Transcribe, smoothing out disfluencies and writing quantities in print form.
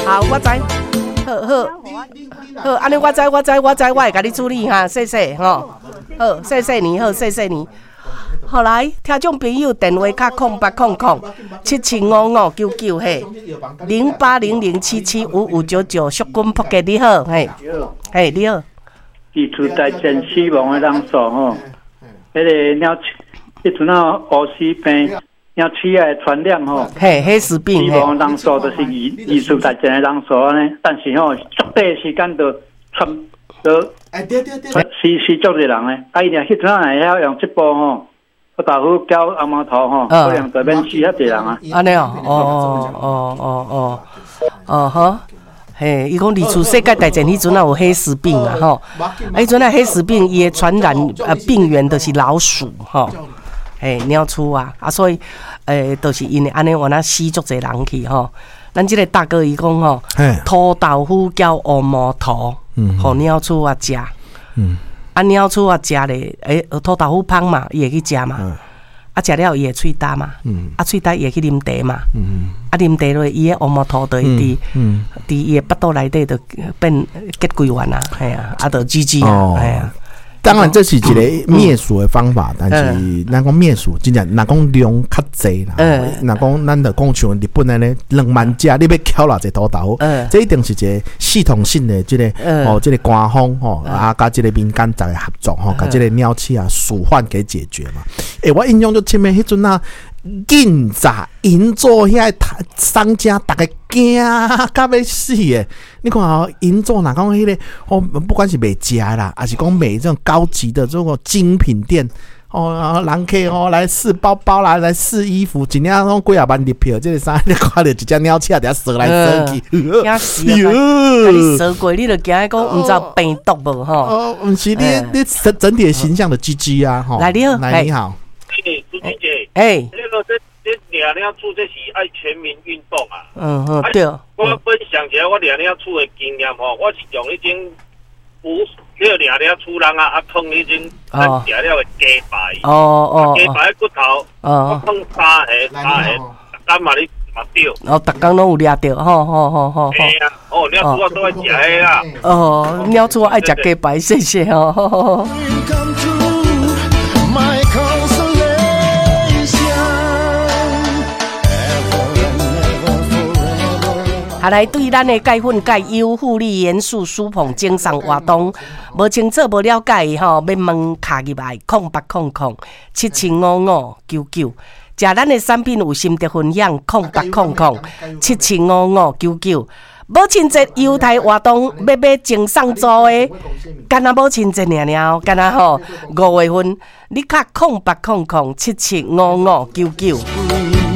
好，我知。好好好，按呢我知，我知，我知，我會共你處理哈，謝謝吼。好，謝謝你，好，謝謝你。好來，聽眾朋友電話卡0800775599嘿，0800775599，淑君撲街你好，嘿，嘿你好。二次大戰死亡的人數吼，彼個鳥，彼陣仔烏死病，鳥鼠仔的傳染吼，嘿，黑死病，死亡人數就是二次大戰的人數按呢，但是吼，足短時間就傳，就死死足濟人咧，啊伊若彼陣仔若會曉用這步吼。臭豆腐攪紅毛塗吼，可能就免死遐濟人啊。按呢哦，哦哦哦哦哦，好，嘿，伊講二次世界大戰彼陣仔有黑死病啊，吼，啊，彼陣仔黑死病伊的傳染病源就是老鼠吼，嘿，鳥鼠啊，啊，所以就是因為按呢，原來死足濟人去吼。咱這個大哥伊講吼，塗豆腐攪烏毛塗，予鳥鼠仔食。啊，鳥鼠仔食咧，塗豆腐芳嘛，伊會去食嘛。啊，食了伊會喙焦嘛。啊，喙焦伊會去啉茶嘛。啊，啉茶落，伊的烏毛塗就會佇伊的腹肚內底就變結歸完啊，嘿啊，啊，就 GG 啊，嘿啊。當然，這是一個滅鼠的方法，但是咱講滅鼠，真正若講量較濟啦。若講咱就講像日本按呢2萬隻，你欲攪偌濟塗豆腐？這一定是一個系統性的這個哦，這個官方吼啊，佮這個民間逐家合作吼，共這個鳥鼠仔鼠患給解決嘛。欸，我印象足深的，彼陣啊，銀座銀座遐個商家，逐家驚甲欲死的。你看哦，銀座若講彼個哦，不管是賣食的啦，抑是講賣這種高級的這種精品店哦，人客哦來試包包啦，來試衣服，一領攏幾仔萬入票，這个衫你看著一隻鳥鼠佇遐踅來踅去，驚死啊！共你踅過，你就驚講毋知有病毒無吼？哦，毋是你你整整體的形象的 GG 啊，吼！來你好，來你好，欸，朱姐姐，欸，那個這掠鳥鼠這是愛全民運動啊！嗯嗯對。我分享一下我掠鳥鼠的經驗吼，我是用彼種捕那個掠鳥鼠籠仔，啊，囥彼種咱食了的雞排，雞排的骨頭，我放三个三个，逐工嘛咧嘛著。哦，逐工攏有掠著，吼吼吼吼。嘿啊，哦，鳥鼠仔都愛食彼啦。哦，鳥鼠愛食雞排，謝謝哦。 My consolation. Ever and ever forever. 啊，來對咱的鈣粉鈣優護理元素舒捧贈送活動，無清楚無了解的吼，欲問敲入來0800775599。食咱的產品有心得分享，0800775599。母親節優待活動，欲買贈送組的，敢若母親節爾爾，敢若吼5月份，你敲0800775599。